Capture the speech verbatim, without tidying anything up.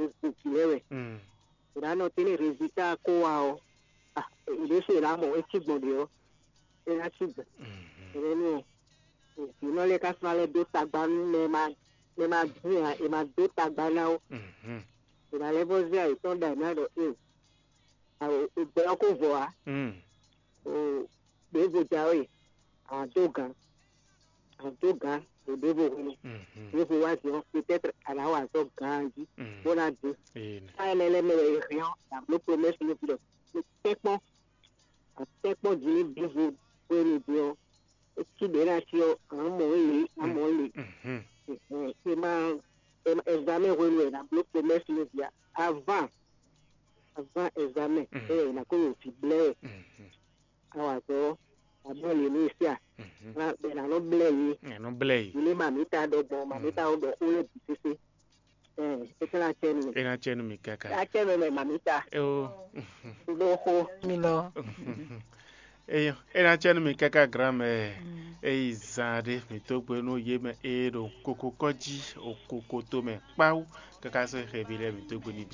gbogbo jǐ lɛ́ɛ wɛ. Mm. È nǎ nɔ tɛ́ nú rezilta ko wá ɔ́, ah, è ɖésú è nǎ mɔ é cí gbɔn ɖě ɔ́, é ná cí gbɔn. Mhm. Énɛ́ nú ɔ́, vǐnɔ lɛ́ɛ ka sɔ́ ná lɛ́ dó tagba nú mɛ e ma mɛ e ma dín ǎ, è ma dó tagba ná ó. Mhm. È nǎ lɛ́ vɔ́ zé ayǐ tɔn ɖa è nǎ ɖɔ ee, gbɛ ɔ́ ko vɔ ǎ. Mm. O, ɖěvo jǎwe, a nǎ dó gǎn, a nǎ dó gǎn ɖo ɖěvo hwenu. Mhm. Ɖěvo wá din ɔ́, peut-être a nǎ wa azɔ̌ gǎn jí, Mm. Bó ná dín. Ee, nɛ. Ká énɛ́ lɛ́ɛ mɛ wɛ è hɛn ɔ́, a nǎ bló promɛ́si nú vǐ ɖɔ, mi tɛ́nkpɔ́n, a tɛ́nkpɔ́n jí nú ɖěvo hwenu din ɔ́, é cí ɖě ná cí ɔ́, a nǎ mɔ é lě, a nǎ mɔ é lě. Mhm. È ma, è ma, examen hwenu wɛ è nǎ bló promɛ́si nú vǐ ǎ. Avant, avant examen, Mhm. é wɛ è nǎ kó ɖo vǐ blɛ́ wɛ. Mhm. A wa azɔ̌, a bló lě nú é sí a? Mhm. Ná bɛ ná nɔ blɛ́ yě. Ɛ nɔ blɛ́ yě. Yě lé mamǐta ɖɔ gbɔn, mamǐta ɔ́ ɖɔ xó lɛ́ɛ bǐ sésé. Ɛ, é tlá cɛ nú mi. É ná cɛ nú mi káká. Á cɛ nú mɛ mamǐta. Ó. Ɖó xó. Mi lɔ. Eyɔ, é ná cɛ nú mi káká granmɛ. É yi zan ɖé mi tó gbe nú yé mɛ é ɖo koko kɔ́ jí, o koko tó mɛ kpáwú, káká sɔ́ xeví lɛ́ɛ mi tó gbe ní